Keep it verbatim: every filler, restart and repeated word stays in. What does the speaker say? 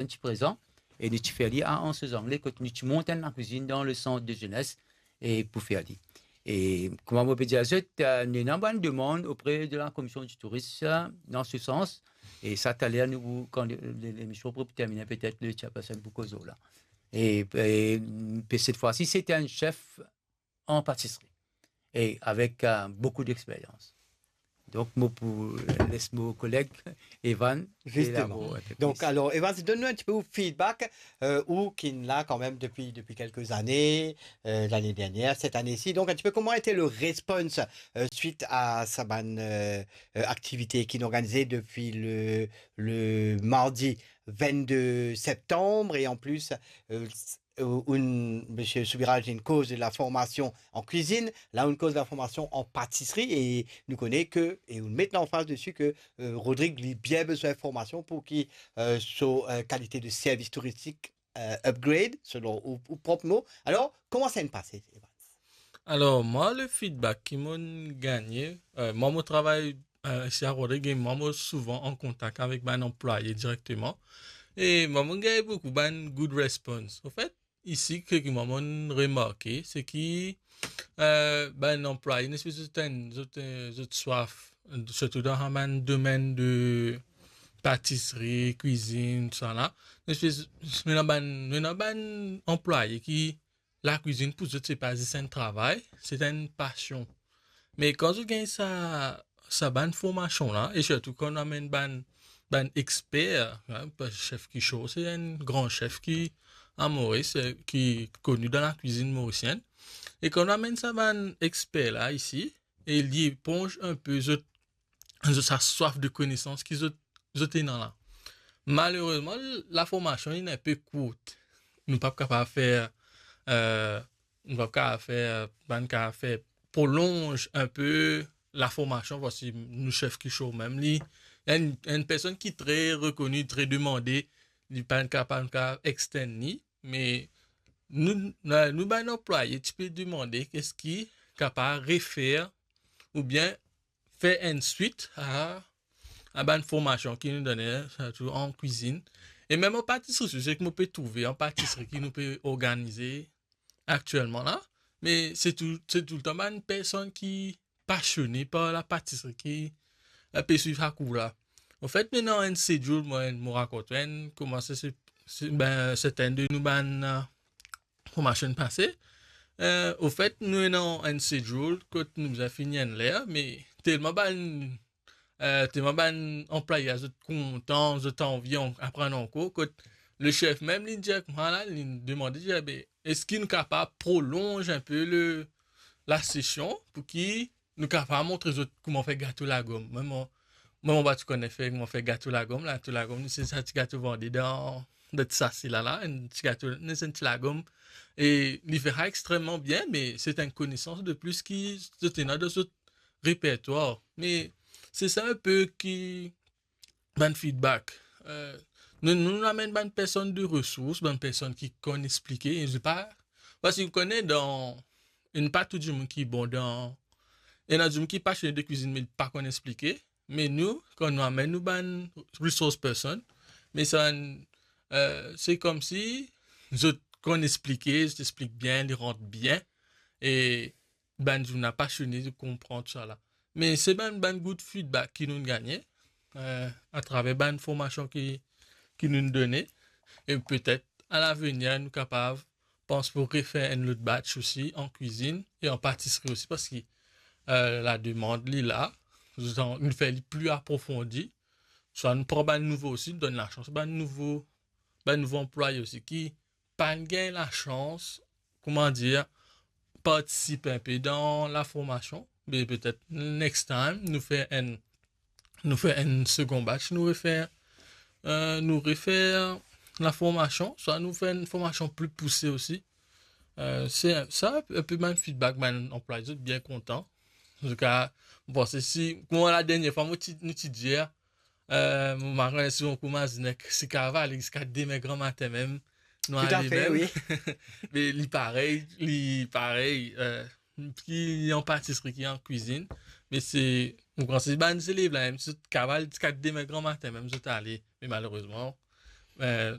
enn ti prezan, e nou ti fer li a Anse aux Anglais, kot nou ti mont enn lakwizinn dan le sant de zenes, e pou fer li. E kouma mo pe dir zot, eh, nou ena bann demann opre de la Komision di Touris, eh, dan se sans. E sa, taler, nou, kan le, le, lemision pou termine, petet le chairperson pou koz lor la. E, e, pe, set fwa si, se ti enn chef an patisri e avek, eh, boukou dexperyans. Donk, mo pou les mo koleg Evan. Justement. Elabor enn pe plis. Donc, alors, Evans, donne-nous un petit peu votre feedback, euh, ou qui est là quand même depuis, depuis quelques années, euh, l'année dernière, cette année-ci. Donc, un petit peu, comment a été le response, euh, suite à sa bann, euh, euh, activité qui est organisée depuis le, le mardi vingt-deux septembre, et en plus, euh, s-, euh, une, Monsieur Soubiraj, une cause de la formation en cuisine, là, une cause de la formation en pâtisserie, et nous connaît que, et on met l'emphase dessus que, euh, Rodrigue, li bien besoin de formation pour qu'il, euh, so, euh, qualité de service touristique, euh, upgrade, selon ou, ou propre mot. Alors, comment ça s'est passé, Evans? Alor, mwa, le feedback ki mo'nn gagne, euh, mwa, mo travay, euh, isi a Rodrigue, e mwa, mo souvan an kontak avek bann anplwaye direkteman. E mwa, mo'nn gagne boukou bann good response. Anfet, isi, ki mwa, mo'nn remarke, se ki, euh, bann anplwaye, enn espes zot enn, zot, euh, zot swaf, sirtou dan sa bann domenn de patisri, kwizinn, tousala. Enn espes, nou ena bann, nou ena bann anplwaye ki lakwizinn pou zot, se pa zis enn travay, se enn pasion. Me kan zot gagn sa, sa bann formasion la, e sirtou kan nou amenn bann, bann exper, hein, pa-, chef Kicho, se enn gran chef ki, a Moris, eh, ki koni dan lakwizinn morisienn. E kan nou amenn sa bann exper la isi, e li eponz enn pe zot, zot sa swaf de konesans ki zot, zot ena la. Malerezman, laformasion, li enn pe kourt. Nou pa kapav fer, euh, nou pa kapav fer, pa kapav fer prolonz enn pe laformasion, parski nou chef Kicho mem, li, enn, enn personn ki tre rekoni, tre demande, li pa kapav, pa kapav extend li, me nou, nou, nou bann anplwaye ti pe demande eski kapav refer oubien fer enn swit a, a bann formasion ki nou done, sirtou an kwizinn. E mem an patisri, se ki mo pe trouve an patisri ki nou pe organize aktielman la, me se tou, se toultan bann personn ki pasione par lapatisri ki, eh, pe swiv sa kour la. Anfet, nou ena enn schedule, mwa, mo rakont enn, kouma se, se, se, ben, sertin de nou bann, eh, formasion pase. Eh, anfet, nou ena enn schedule kot nou bizin fini enn ler, me telman bann, eh, telman bann anplwaye zot kontan, zot anvi an-, aprann ankor, kot le chef mem, li dir ek mwa la, li demande, dir, "Be, eski nou kapav prolonz enn pe le, lasesion pou ki nou kapav montre zot kouma fer gato lagom?" Mwa, mo, mwa, mo pa ti kone fer, kouma fer gato lagom. Gato lagom, se sa ti gato vande dan, dan ti sase la la, enn ti gato, enn ti lagom. E li fer sa extreman bien, me se enn konesans de plis ki zot ena dan zot repertwar. Me se sa enn pe ki bann feedback. Eh, nou, nou amenn bann personn de resours, bann personn ki konn explike, e se pa, parski ou kone dan, ena pa tou dimoun ki bon dan, ena dimoun ki pasione de kwizinn, me li pa konn explike. Me nou, kan nou amenn nou bann resource person, me sa, eh, se koumsi zot konn explike, zot explik bien, li rant bien, e bann dimoun la pasione de konpran tousala. Me se bann, bann good feedback ki nou gagne, eh, atraver bann formasion ki, ki nou done, e petet a lavenir nou kapav pans pou refer enn lot batch osi an kwizinn e an patisri osi, parski, eh, lademand li la, zot an-, nou fer li pli aprofondi, swa nou pran bann nouvo osi, nou donn lasans bann nouvo, bann nouvo anplwaye osi ki pa gagn lasans, kouma dir, partisip enn pe dan laformasion, me petet next time, nou fer enn, nou fer enn segon batch, nou refer, eh, nou refer laformasion, swa nou fer enn formasion pli pouse osi. Eh, se sa, enn pe bann feedback bann anplwaye, zot bien kontan. Antouka, mo panse si, kouma ladernie fwa, mo ti, nou ti dir, eh, mo pa kone si ou koumans nek si kaval ziska demin gramatin mem, nou ale mem. Wi. Me li parey, li parey, eh, ki an patisri, ki an kwizinn. Me se, mo panse bann zelev la, mem zot kaval ziska demin gramatin mem, zot ale. Me malerezman, eh,